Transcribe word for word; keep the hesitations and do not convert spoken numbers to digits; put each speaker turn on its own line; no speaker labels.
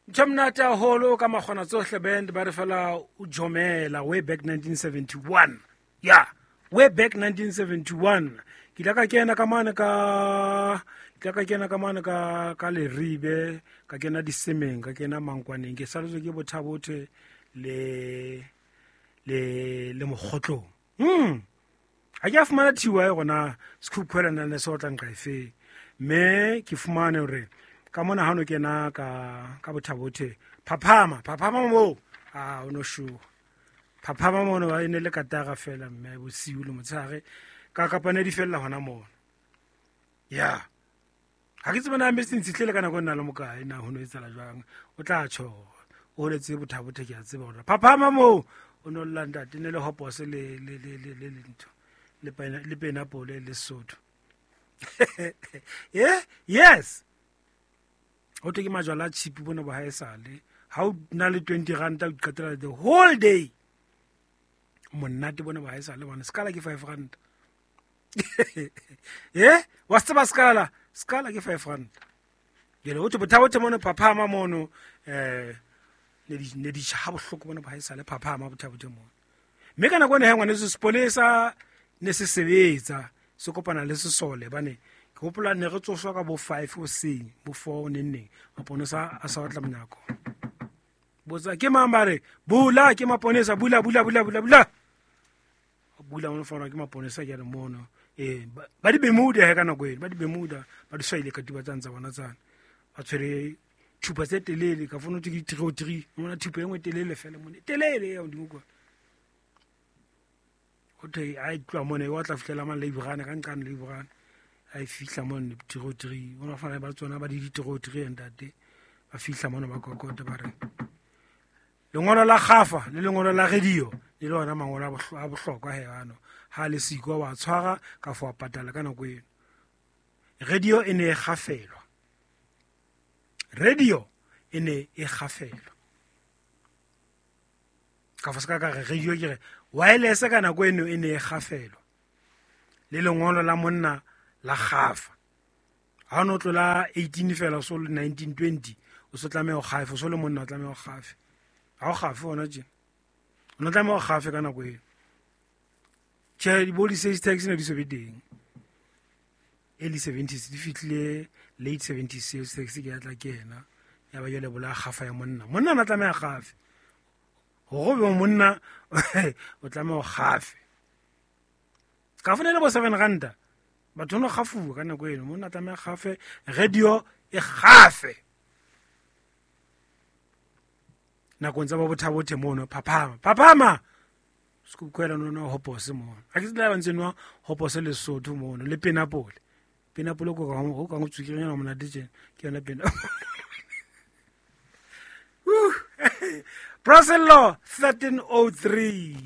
Ntho monate haholo ka Makgona Tsohle Band ba re fela o jomela way back nineteen seventy-one. Yeah, way back nineteen seventy-one. Ke ile ka kena ka mane ka ke ile ka kena ka mane ka ka Leribe, ka kena Disemeng, ka kena Mankwaneng, ke saletswe ke Bothabothe le le le Mokgotlong. Hmm. Ha ke a fumana thiwa e gona sekhukhwela na le se otlang ka efe. Mme ke fumane hore ka mona ha no kena ka ka Bothabothe phaphama phaphama mo a o no shuwa phaphama mo no ba ene le katara fela mme bosiu le motshehare ka kapane di fella hona mona. Ya ha ke tsebe na mme se ntsitlele ka nako nna le mokae na ho no etsala jwang o tla tjho o letse Bothabothe ke a tseba hore phaphama mo o no lla ntate ne le hopose le le le le le ntho le pena le penapole le Sotho. Yeah, yes. O te ke majwala a cheap bona bo haesale ha o na le twenty rand o qetela the whole day monate bona bo haesale bona skala ke five rand. Eh wa tseba skala skala ke five rand jele o te Bothabothe mono phaphama mono eh ne di ne di ha bohloko bona bo haesale phaphama Bothabothe mono mme kana kone he ngwane se sepolesa ne se sebetsa se kopana le sesole bane ke hopola ne re tsoswa ka bo five hoseng bo four neng neng maponesa a sa batla monyako botsa ke mang ba re bula ke maponesa bula bula bula bula bula bula mono fana ke maponesa ke re mono eh ba di bemuda he ka nako eno ba di bemuda ba di swaile ka tiba tsantsa bona tsana ba tshwere thupa tse telele ka fono ke three three mona thupa engwe telele fela mone telele ya modimo kwa o te a tloa mone wa tla fihlela mang le ibrana ka nqane le ibrana a fihla mone three three ona fana ba tsona ba di three three ntate ba fihla mone ba kokota ba re lengolo la kgafa le lengolo la radio le lona mangolo a bohlokwa he bano ha le siko wa tshwara ka fo patala ka nako eno radio e ne e kgafelwa radio e ne e kgafelwa ka fo ska ka re radio ke re wireless ka nako eno e ne e kgafelwa le lengolo la monna la kgafa ha no tlola eighteen fela so le nineteen twenty o so tlameha ho kgafe so le monna o tlameha ho kgafe ha o kgafe ona tje o no tlameha ho kgafe ka nako eno tje di body sales tax ne di so be teng early seventies di fitlile late seventies sales tax ke ya tla kena ya ba jole bola kgafa ya monna monna na tlameha kgafe hore be monna o tlameha ho kgafe ka fone le bo seven rand batho no kgafuwa ka nako eno monna tlameha kgafe radio e kgafe nakong tsa ba Bothabothe mono phaphama phaphama sekukhwela no no hopose mono a ke tsela ba ntse nwa hopose le Sotho mono le penapole penapole ko ka go ka go tsukirenya monate tjena ke yona pena. Brasello thirteen oh three.